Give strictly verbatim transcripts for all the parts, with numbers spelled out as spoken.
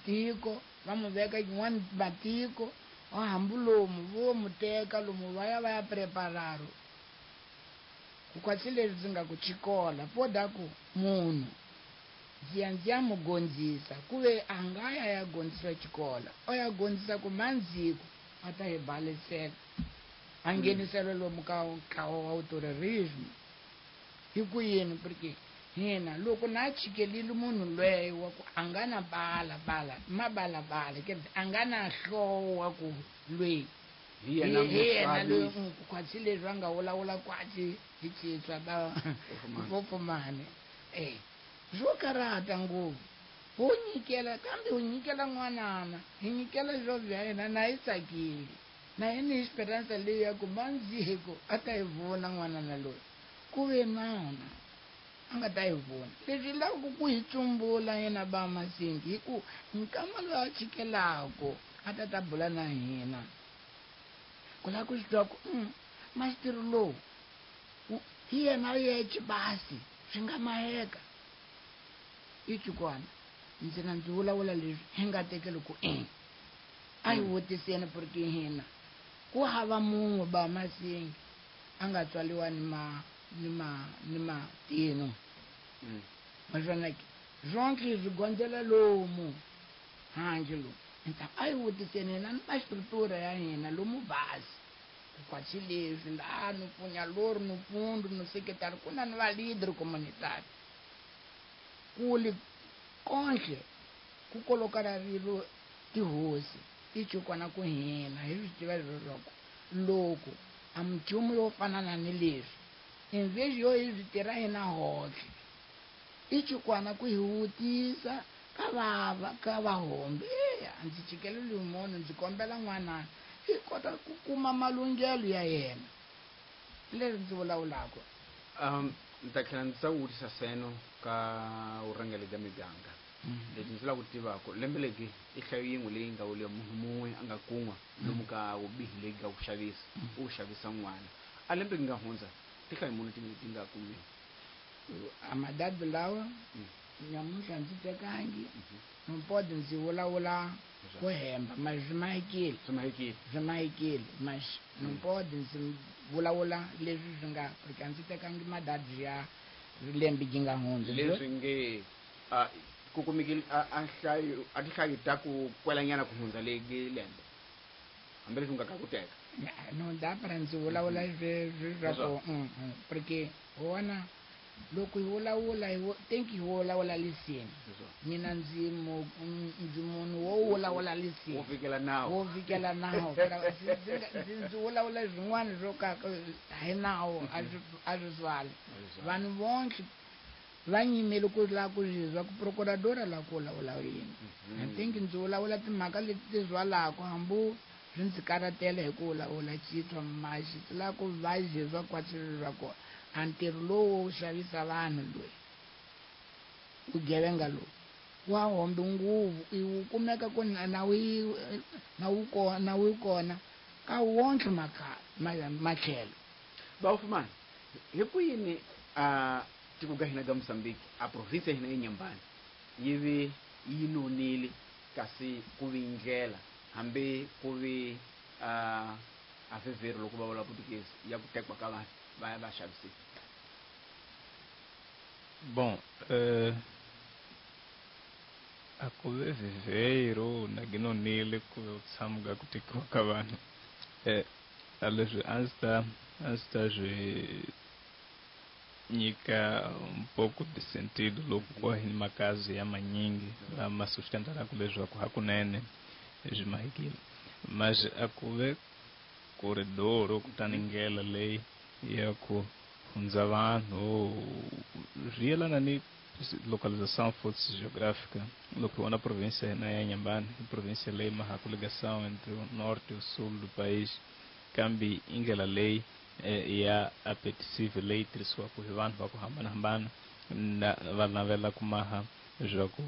Tiko va mu veka yin'wana matiko wa hambi lomu vo mu teka lomu va ya va ya prepararo ku kwatsi leswi ndzi nga ku chikola poda ku munhu ndzi ya ndzi ya mu gondzisa ku ve a nga ya ya gondzisa xikola o ya gondzisa ku mandziko a ta hi balisela a nghenisela lomu ka ntlawa wa terrorism hi ku yini porque hina loko na chikelile munhu lweyo wa ku a nga na bala bala mabalabala ke a nga na hloko wa ku lweyi hi yena hi yena loyi muxavisi. Kwatsi leswi va nga vulavula kwatsi hi citswa va Fofomani. Fofomani eh swo karata ngopfu ho nyikela kambe u nyikela n'wanana hi nyikela swo bya yena na yi tsakile na yena hi esperanza leyi ya ku mandziko a ta hi vona n'wanana loyi ku ve nana a nga ta hi vona leswi lavaku ku hi tsumbula yena ba Masingi hi ku nkama loyi a chikelako a ta ta bula na hina ku lava ku swi twa ku mm, masitiri lowu wu- hi yena yexe basi swi nga maheka i chikwana ndzi na ndzi vulavula leswi hi nga tekeli ku e a hi vutiseni porque hina ku hava munhu ba Masingi a nga tswaliwa ni ma ni ma ni matino. Mm. Maswona ke zonke swi gondzela lomu handle lomu nta a hi vutiseni hina ni mastructura ya hina lomu basi ku kwatsi leswi laha no pfunya lori no pundu no sekretari ku na ni va leader communitary kuli konhle ku kolokana rilo tihosi ti chukwana ku hina hi swi tiva leswaku loko a nchumu yo fana na ni leswi invezi yo hi swi tirha hina hohle i chukwana ku hi vutisa ka vava ka vahombe eya ndzi chikeleli munhu ndzi kombela n'wanana hi kota ku kuma malunghelo ya yena leswi ndzi vulavulaka. um ndzi ta tlhela ndzi ta vutisa seno ka vurhangeri bya miganga leti ndzi lava ku tivaka lembe legi i nhlayo yin'we leyi nga wule munhu mun'we a nga kun'wa lomu ka vubihi leyi nga ku xavisa u xavisa n'wana a lembe gi nga hundza tinhlayo muni ti ti nga kumiwa? A madadi lawa nyamuntlha ndzi tekangi mpodi ndzi vulavula ku hemba ma swi mahekile. Swi mahekile. Swi mahekile mas mpodi ndzi vulavula leswi swi nga porque a ndzi tekangi madadi ya lembe gi nga hundza. Leswi nge a ku kumekile a a nhlayo a tinhlayo ta ku kwelanyana ku hundza legi lembe hambileswi u nga ka ku teka. No dapara ndzi vulavula sweswi swa ku porque wona loko hi vulavula hi think hi vulavula lisini mina ndzi mu ndzi munhu wo vulavula lisini wo fikela nawu wo fikela nawu ndzi ndzi vulavula swin'wana swo ka hi nawu a swi a swi swali vanhu vonke va nyimele ku lava ku zwa ku procuradora la ku vulavula yini. I think ndzi vulavula timhaka leti ti zwalaka hambi swi ndzi karhatela hi ku vulavula chitwa maxi ti lava ku va zizwa kwatsi swa kona a ntirho lowu wo xavisa vanhu loyi vugevenga lowu wa hombe nguvu i wu kumeka ku na wu na wu kona na wu kona ka wonke matlhelo. Bawufumani hi ku yini a tiko ka hina ka Mozambique a province ya hina eNyembani yi vi yi nonile kasi ku vi ndlela hambi ku vi a a vhevheri loko va vula Portuguese ya ku tekiwa ka vanhu va ya va xavisiwa? Bom, eh, a ku ve viveiro na ginonile ku ve u tshamuka ku tekiwa ka vanhu eh, a leswi a ndzi ta a ndzi ta swi nyika um pouco de sentido loko ku hi makazi ya manyingi lama sustentaraka leswaku hakunene swi mahekile mas a ku ve corredor kutani ndlela leyi ya ku hundza vanhu swi yelana ni localização fosse geográfica. Loko na província hina ya Inhambane, província leyi mahaku ligação entre o norte e o sul do país, kambe i ndlela leyi eh, ya apetecível leyi tirhisiwaka hi vanhu va ku hambanahambana na va navela ku maha swa ku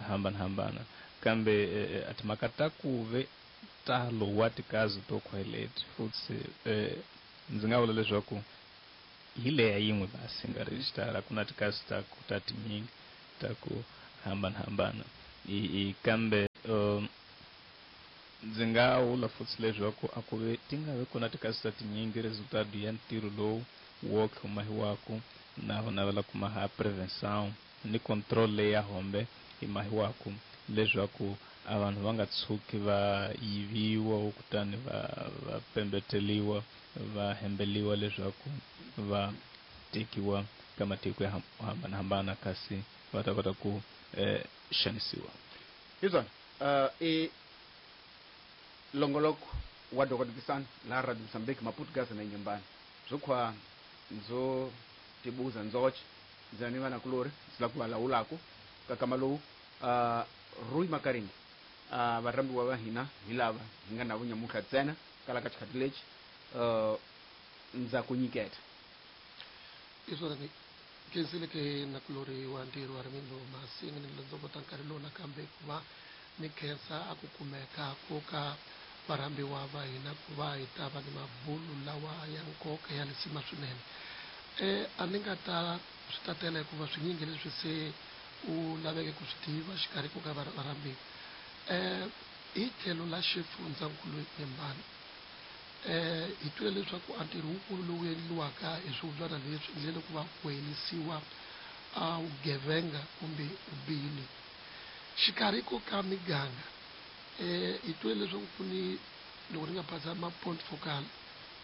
hambanahambana kambe eh, a timhaka ta ku ve talo wa tikazi to khweleti futhi eh, ndzi nga vula leswaku hi leya yin'we basi nga rejistara ku na tikazi ta ku ta tinyingi ta ku hambanahambana i, i kambe um ndzi nga vula futhi leswaku a ku ve ti nga vi kona tikasi ta tinyingi resultado ya ntirho lowu wo khomahiwaku na ku navela ku maha prevenção ni control leyi ya hombe yi mahiwaku leswaku a vanhu va nga tshuki va yiviwa kutani va va pembeteliwa va hembeliwa leswaku va tekiwa ka matiko ya hambanahambana kasi va ta kota ku eh, xanisiwa. Hiswona uh, i longoloko wa dokodisana la Radio Mozambique Maputo Gaza na Inhambane zwokhwa ndzo tibuza ndzoche ndzi ni vana kulori ndzi lava ku va lawulaku ka kama lowu uh, Rui Makaringi uh, varhambiwa va hina hi lava hi nga na vo nyamutlha ntsena kala ka xikhati lexi uh, ndza ku nyiketa. Iswona ni khensile ke na kulori wa ntirho wa Rimindo Masinga ni ndzovota nkarhi lowu nakambe ku va ni khensa a ku kumeka ku ka varhambiwa va hina ku va hi ta va ni mabulu lawa ya nkoka ya lisima swinene. Eh a ni nga ta swi tatela hikuva swinyingi leswi se u laveke ku swi tiva xikarhi ku ka varhambiwa. Eh hi tlhelo la xifundzankulu Inhambane eh hi twile leswaku a ntirho wukulu lowu endliwaka hi swivubyana leswi endlele ku va ku herisiwa a vugevenga kumbe vubihi. Xikarhi ko ka miganga eh hi twile leswaku ku ni loko ni nga phasa ma point focal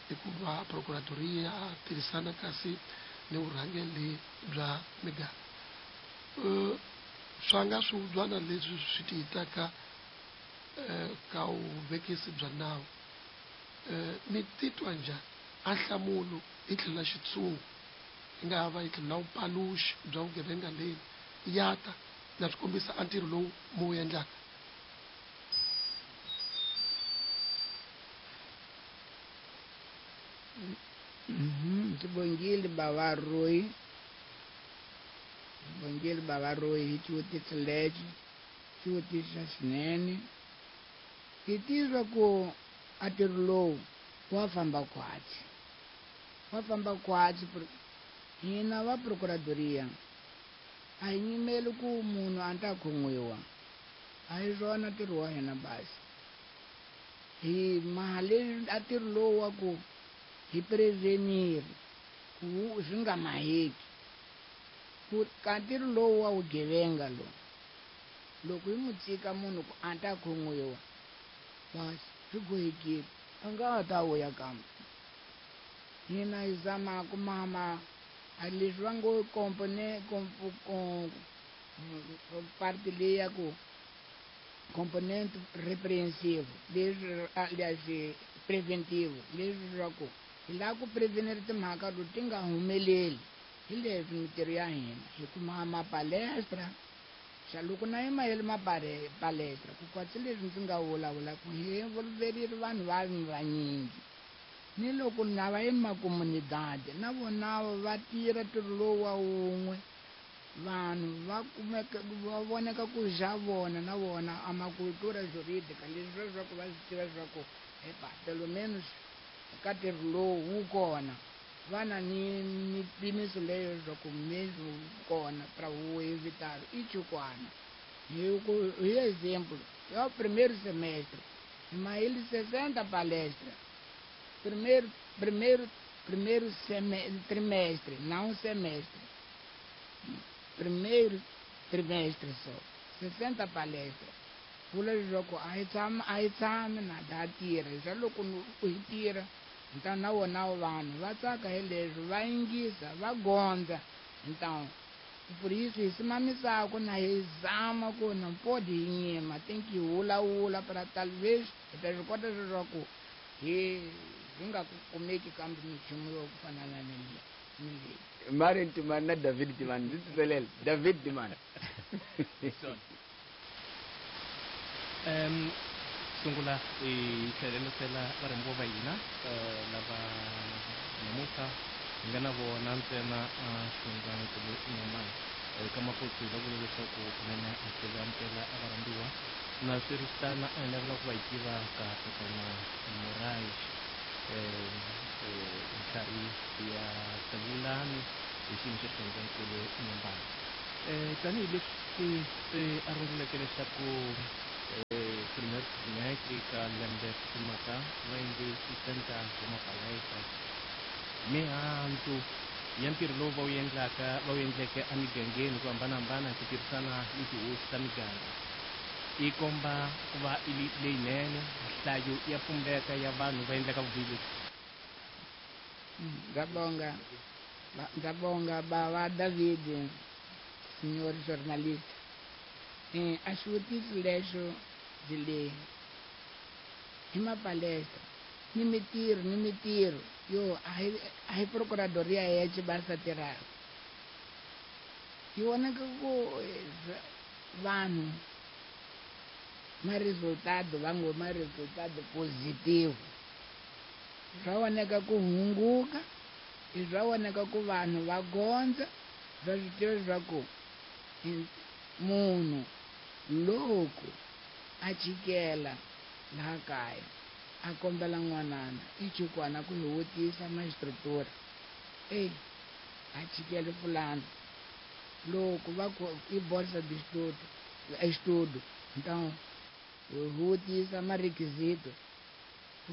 hikuva procuradoria tirhisana kasi ni vurhangeri bya miganga. Eh swa nga swivubyana leswi swi tiyitaka eh ka vuvekisi bya nawu. Eh mi titwa njhani a nhlamulo hi tlhelo la xitshungu yi nga va hi tlhelo la vupaluxi bya vugevenga leyi ya ta na swi kombisa a ntirho lowu mu wu endlaka? Ndzi baba Rui bongile baba Rui hi xivutiso lexi xivutiso xinene. Hi tizwa ku a ntirho lowu wa famba khwatsi wa famba khwatsi hina va procuradoria a hi nyimeli ku munhu a ta khomiwa a hi swona ntirho wa hina basi hi mali a ntirho lowu wa ku hi prevenir ku swi nga maheki ku ka ntirho lowu wa vugevenga lowu loko hi mu tshika munhu ku a ta khomiwa basi swi bohekile a nga ha ta vuya kambe hina hi zama ku mama a leswi va ngo compone parte leyi ya ku componente repreensivo leswi leswi preventivo leswi swa ku hi lava ku prevenir timhaka to ti nga humeleli hi leswi mintirho ya hina hi kuma mapalestra xa loko na yi mahele mapalestra ku kwatsi leswi ndzi nga vulavula ku hi envolverile vanhu va vanyingi ni loko na va emakomunidade na vona va tirha ntirho lowu wa wun'we vanhu va kumeka va voneka ku xa vona na vona a macultura jurídica leswi leswaku va swi tiva leswaku epa pelo menos ka ntirho lowu wu kona va na ni mipimiso leyo leswaku mesmo kona para o evitar i chukwana hi ku hi exemplo é o primeiro semestre mahele sessenta palestra primeiro primeiro primeiro semestre trimestre não semestre primeiro trimestre só sessenta palestra vula leswaku a hi tshami a hi tshami na da tirha xa loko hi tirha então na vona vanhu va tsaka hi leswi va yingisa va gondza então por isso hi simamisaka na hi zama ku na pode hi nyima tem que vulavula para talvez hi ta swi kota leswaku hi hi nga kumeki kambe minchumu yo fana na leyi ni leyi. Marian Timani na David Timani ndzi titselele David Timani. Um sungula hi tlhelerisela varhambiwa va hina lava namuntlha hi nga na vona ntsena a xifundzankulu Inhambane ka Maputo hi va vula leswaku kunene hi tlhela amukela varhambiwa na swiritana a hi navela ku va hi tiva ka tatana Moraes ntlhari ya Tabulani hi xiyimo xa xifundzankulu Inhambane. Tanihileswi se a runguleke leswaku kumekaka va endle xitanta wa mapalestra mihandzu ya ntirho lowu va wu endlaka va wu endleke emigangeni ku hambanahambana hi ku tirhisana ni tihosi ta miganga yi komba ku va leyinene nhlayo ya pumbeka ya vanhu va endlaka vubihi lebyi. Ndabonga ndabonga baba David, senhor jornalista. Eh, a xivutiso lexo byi le hi mapalestra ni mitirho ni mitirho yo a hi a hi procuradoria ya xibasa tirhaka yi vonaka ku vanhu ma resultado va ngo ma resultado positivo swa voneka ku hunguka i swa voneka ku vanhu va gondza swa swi tiva leswaku munhu loko a chikela laha kaya a kombela n'wanana i chukwana ku hi vutisa magistratura e a chikele fulani loko va ku i bolsa de estudo estudo então vutisa marequisito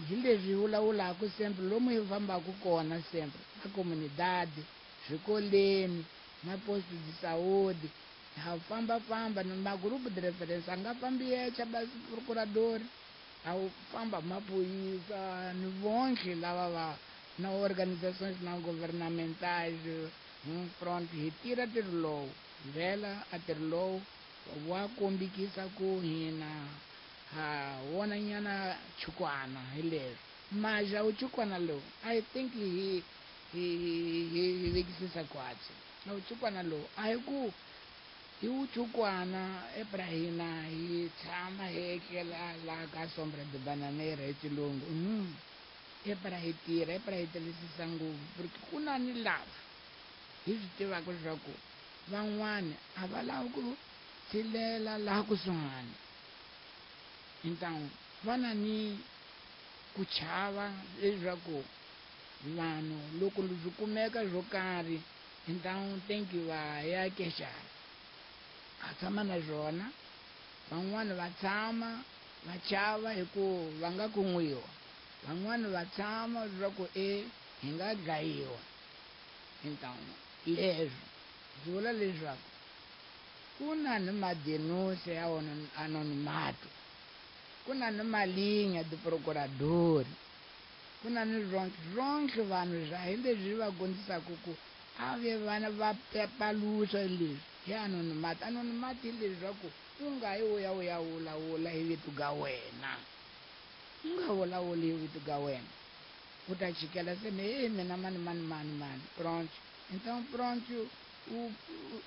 hi leswi vulavulaka sempre lomu hi fambaka kona sempre na comunidade swikoleni na posto de saúde ha famba-famba ni magrupo de referência a nga fambi yexe basi procurador a wu famba maphorisa ni vonke lava va na organizações não governamentais front hi tirha ntirho lowu vhela a ntirho lowu wa kombikisa ku hina ha wona nyana chukwana hi leswi maja wu chukwana lowu I think hi hi hi hi vekisisa kwatsi na uchukwana lowu a hi ku hi uchukwana ebrahina hi tshama hi etlela laha ka sombra de bananeira hi xilungu mm. Ebra hi tirha ebra hi tirhisisa ngopfu porque ku na ni lava hi swi tivaka leswaku van'wani a va lavi ku tshilela laha kusuhani então va na ni ku chava leswaku vanhu loko swi kumeka swo karhi então tem que va ya queixar a tshama na swona van'wani va tshama va chava hi ku va nga kun'wiwa van'wani va tshama leswaku e hi nga dlayiwa então leswi swi vula leswaku ku na ni madenúncia ya anonimato ku na ni malinha de procurador ku na ni ronke ronke vanhu swa hi leswi va gondzisaka ku a ve vana va paluxa leswi hi anonimato anonimato hi leswaku u nga yi u ya u ya vulavula hi vito ga wena u nga vulavuli hi vito ga wena u ta chikela se me mina mani mani mani mani pronto então pronto u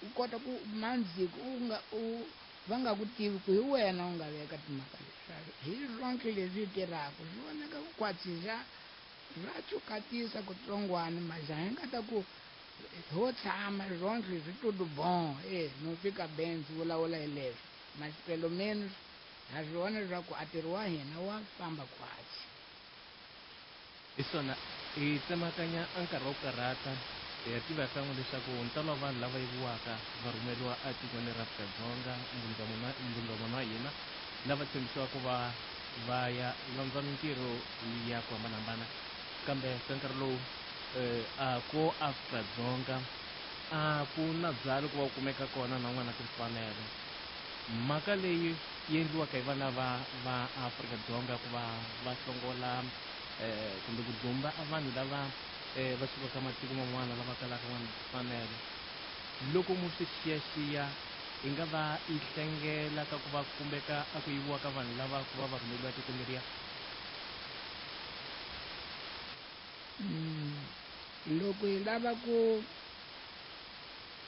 u kota ku mandziko u nga u va nga ku tivi ku hi wena u nga veka timhaka leswi hi ronke leswi tirhaka swi vonaka ku kwatsisa ra chukatisa kutsongwana maja hi nga ta ku ho tshama ronke swi tudo bom e no fika bem swi vulavula hi leswi mas pelo menos ha swi vona leswaku a ntirho wa hina wa famba kwatsi hi swona hi tsemakanya a nkarhi wa ku karhata hi tiva kan'we leswaku ntalo wa vanhu lava yiviwaka va rhumeriwa etikweni ra Afrika-Dzonga mbundzamuna wa hina lava tshembisiwaka ku va va ya landza mintirho ya ku hambanahambana kambe ka nkarhi lowu a ko Afrika-Dzonga a ku na byalo ku va ku kumeka kona na n'wana timfanelo mhaka leyi yi endliwaka hi vana va va Afrika-Dzonga ku va va hlongola eh kumbe ku dzumba vanhu lava eh va sukaka matiko man'wana lava kalaka n'wana timfanelo loko mu swi xiyaxiya yi nga va yi hlengela ka ku va kumbeka a ku yiviwa ka vanhu lava ku va va rhumeriwa tikweni leriya. Loko hi lava ku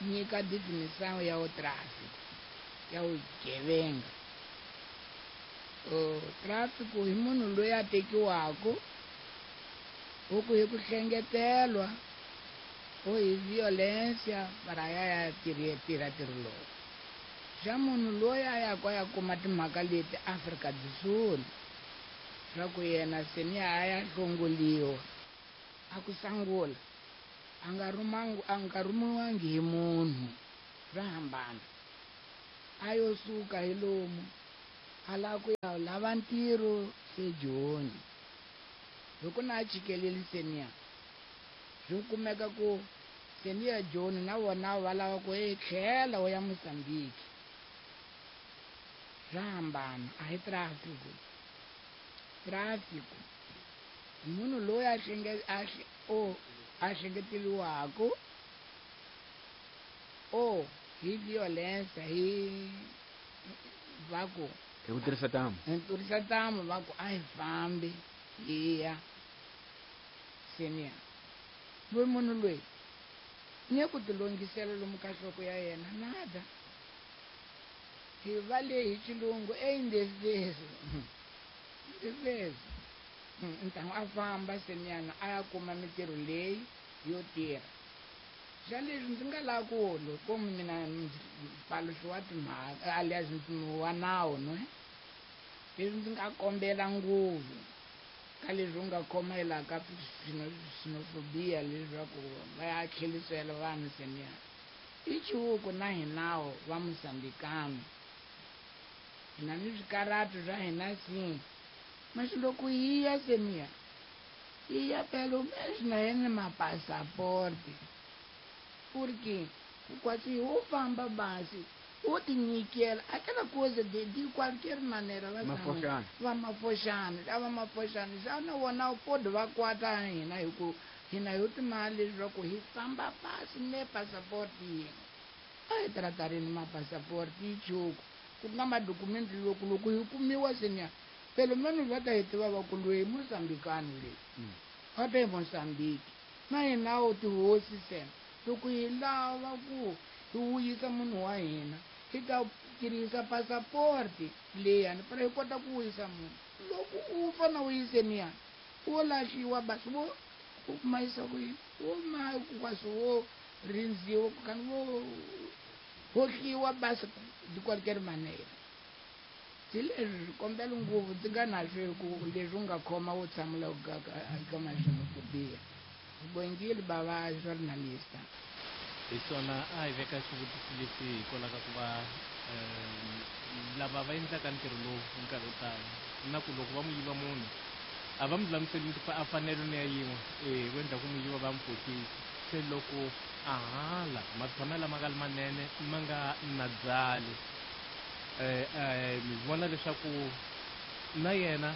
nyika definição ya o tráfico ya vugevenga o tráfico hi munhu loyi a tekiwaka u ku hi ku hlengetelwa o hi violência para ya ya tirha tirha ntirho lowu xa munhu loyi a yaka a ya kuma timhaka leti Afrika do Sul swa ku yena se ni a ya hlongoliwa a ku sangula a nga rhumangi a nga rhumiwangi hi munhu swa hambana a yo suka hi lomu a lava ku ya lava ntirho se Joni Hi ku na chikeleli senior. Swi kumeka ku senior John na vona va lava ku e tlhela u ya Mozambique. Swa hambana, a hi tráfico. Tráfico munhu loyi a hlenge a o a hlengeteliwaka o hi violência hi va ku hi ku tirhisa tamu hi tirhisa tamu va ku a hi fambi hi ya senior. Loyi munhu loyi ni ku tilongisela lomu ka nhloko ya yena nada. Hi va le hi xilungu eindefeso indefeso ntangu a famba senior a ya kuma mintirho leyi yo tirha. Xa leswi ndzi nga lava ku loko mina mpaluxo wa timhaka alias wa nawu no leswi ndzi nga kombela ngopfu ka leswi u nga khoma ka xenophobia leswaku va ya tlherisela vanhu senior. I chihuku na hinawo va Mozambikano hina ni swikaratu swa hina si mas loko hi ya senior hi ya pelo menos na yena mapasaporte porque quase wo famba basi wo tinyikela aquela coisa de de qualquer maneira va va mafoxana va mafoxana xana wona u pode va kwata hina hi ku hina hi timali leswaku hi famba pasi ne passport yin'we a hi tratarini mapasaporti yi chuku ku nga madokumenti loko loko hi kumiwa senior pelo menos va ta hi tiva va ku loyi Mozambikano leyi va ta hi Mozambique na hina wo tihosi sena loko hi lava ku hi wuyisa munhu wa hina hi ta tirhisa passaporti leyani para hi kota ku wuyisa munhu loko u fana u yiseniya wo lahliwa basi wo u mayisa ku yini wo ma kwasi wo rindziwa kani wo hohliwa basi de qualquer maneira. Se leswi kombela ngopfu ndzi nga na swo ku leswi u nga khoma wo tshamela ka maxenophobia. Bongile bava journalista. Hi swona a hi veka xivutiso lexi hikwalaho ka ku va lava va endlaka ntirho lowu nkarhi wo tala na ku loko va n'wi yiva munhu a va mu lulamiseli a fanelo ni ya yin'we e va endla ku n'wi yiva va n'wi fokisa se loko a hala matshamelo lama nga ri manene ma nga na byali um mi vona leswaku na yena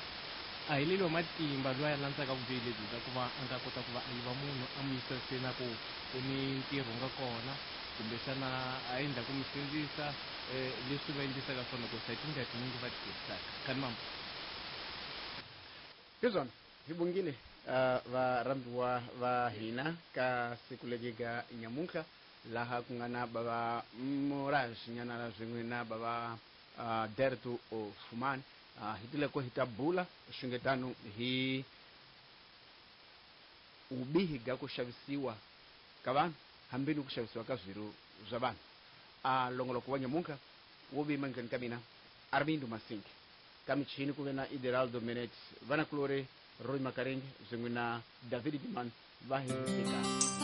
a heleliwa matimba loyi a landzaka vubihi lebyi bya ku va a nga kota ku va a yiva munhu a n'wi yisa se na ku ku ni ntirho nga kona kumbexana a endla ku mi sindzisa leswi va endlisaka swona ku sa tindlela tinyingi va ti tirhisaka kani mama hi swona hi bongile varhambiwa va hina ka siku leri ga nyamuntlha laha ku nga na bava Moraes Nyanana swin'we na bava Derto Fumani. Hi tile ko hi ta bula swingetano hi vubihi bya ku xavisiwa ka vanhu hambi ni ku xavisiwa ka swirho swa vanhu. A longoloko wa nyamuntlha wo vima ndzeni ka mina Armindo Masingi ka michini ku ve na Ideraldo Menet vanakulori Roy Makaringi swin'we na David Diman va hi eka.